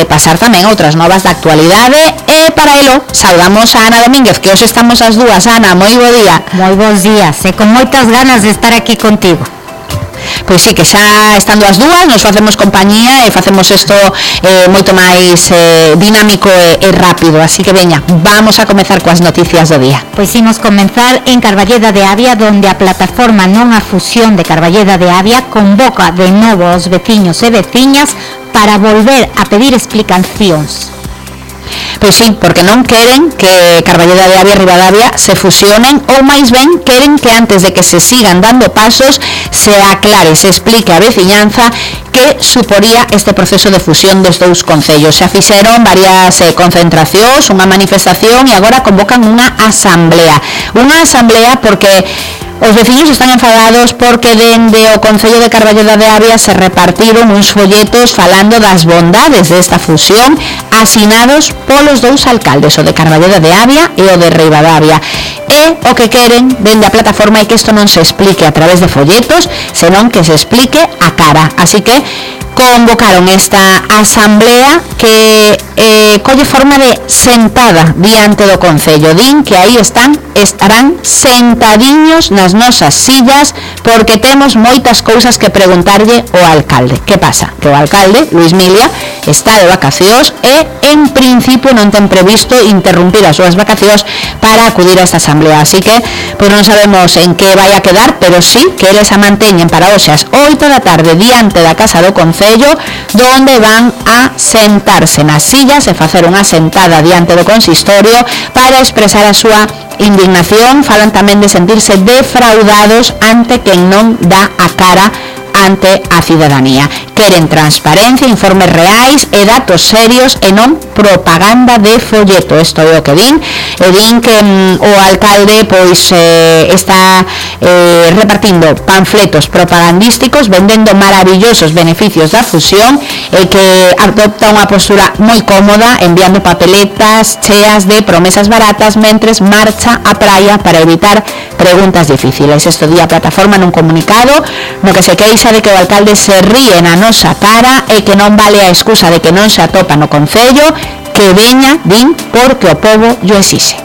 pasar tamén outras novas da actualidade, e para elo saudamos a Ana Domínguez, que hoxe estamos as dúas. Ana, moi bo día. Moi bons días, e con moitas ganas de estar aquí contigo. Pois sí, que xa estando as dúas nos facemos compañía e facemos isto moito máis dinámico e rápido, así que veña, vamos a comezar coas noticias do día. Pois imos comenzar en Carballeda de Avia, donde a plataforma Non a Fusión de Carballeda de Avia convoca de novo aos veciños e veciñas para volver a pedir explicacións. Pois sí, porque non queren que Carballeda de Avia e Ribadavia se fusionen, ou máis ben queren que antes de que se sigan dando pasos se aclare, se explique a veciñanza que suporía este proceso de fusión dos dous concellos. Xa fixeron varias concentracións, unha manifestación e agora convocan unha asamblea porque os veciños están enfadados porque dende o Concello de Carballeda de Avia se repartiron uns folletos falando das bondades desta fusión, asinados polos dous alcaldes, o de Carballeda de Avia e o de Ribadavia. E o que queren dende a plataforma é que isto non se explique a través de folletos, senón que se explique a cara. Así que convocaron esta asamblea que colle forma de sentada diante do Concello. Din que aí estarán sentadiños nas nosas sillas porque temos moitas cousas que preguntarlle ao alcalde. Que pasa? Que o alcalde, Luis Milia, está de vacacións e en principio non ten previsto interrumpir as súas vacacións para acudir a esta asamblea. Así que pois non sabemos en que vai a quedar, pero sí que eles a manteñen para hoxe ás 8 da tarde diante da Casa do Concello, donde van a sentarse nas sillas e facer unha sentada diante do consistorio para expresar a súa indignación. Falan tamén de sentirse defraudados ante quen non dá a cara ante a cidadanía. Queren transparencia, informes reais e datos serios e non propaganda de folleto. Isto é o que din. E din que o alcalde pois está repartindo panfletos propagandísticos vendendo maravillosos beneficios da fusión e que adopta unha postura moi cómoda enviando papeletas cheas de promesas baratas mentres marcha á praia para evitar preguntas difíciles. Isto di a plataforma nun comunicado no que se queixa de que o alcalde se ríe na nosa cara e que non vale a excusa de que non se atopa no Concello, que veña, din, porque o pobo llo exixe.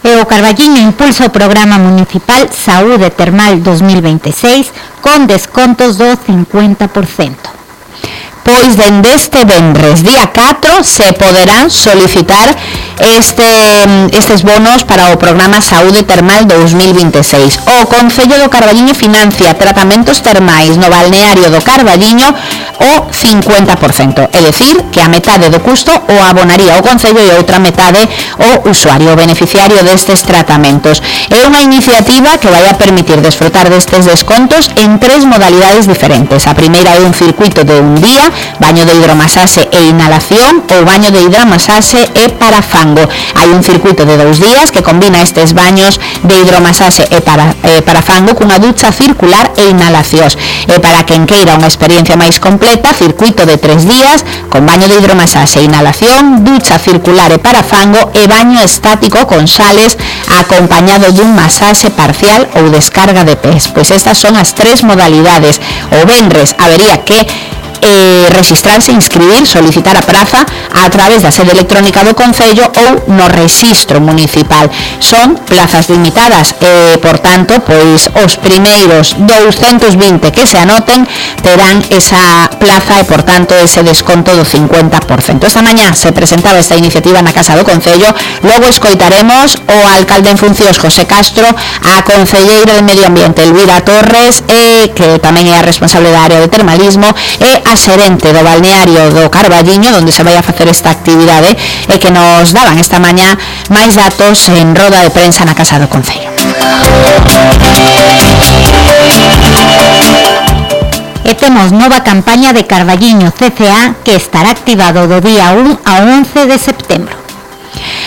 E o Carballiño impulsa o programa municipal Saúde Termal 2026 con descontos do 50%. Pois dende este venres día 4 se poderán solicitar estes bonos para o programa Saúde Termal 2026. O Concello do Carballiño financia tratamentos termais no balneario do Carballiño o 50%, é dicir, que a metade do custo o abonaría o Concello e outra metade o usuario, o beneficiario destes tratamentos. É unha iniciativa que vai a permitir desfrutar destes descontos en 3 modalidades diferentes. A primeira é un circuito de un día, baño de hidromasaxe e inhalación, ou baño de hidromasaxe e parafango. Hai un circuito de 2 días que combina estes baños de hidromasaxe e parafango cunha ducha circular e inhalacións. E para quen queira unha experiencia máis completa, circuito de 3 días con baño de hidromasaxe e inhalación, ducha circular e parafango e baño estático con sales acompañado dun masaxe parcial ou descarga de pés. Pois estas son as 3 modalidades. O venres habería que registrarse, inscribir, solicitar a praza a través da sede electrónica do Concello ou no rexistro municipal. Son plazas limitadas e, por tanto, pois os primeiros 220 que se anoten terán esa plaza e, por tanto, ese desconto do 50%. Esta mañá se presentaba esta iniciativa na Casa do Concello, logo escoitaremos o alcalde en funcións José Castro, a concelleira de Medio Ambiente Elvira Torres, que tamén é a responsable da área de termalismo, e a xerente do balneario do Carballiño, onde se vai a facer esta actividade, e que nos daban esta mañá máis datos en roda de prensa na Casa do Concello. E temos nova campaña de Carballiño CCA que estará activado do día 1 ao 11 de setembro.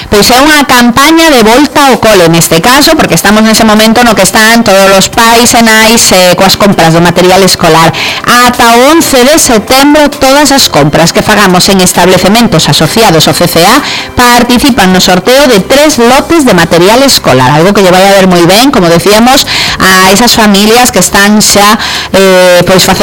Pois é unha campaña de volta ao cole neste caso, porque estamos nese momento no que están todos os pais e nais coas compras do material escolar. Ata o 11 de setembro todas as compras que fagamos en establecementos asociados ao CCA participan no sorteo de 3 lotes de material escolar, algo que lle vai a ver moi ben, como decíamos, a esas familias que están xa pois facendo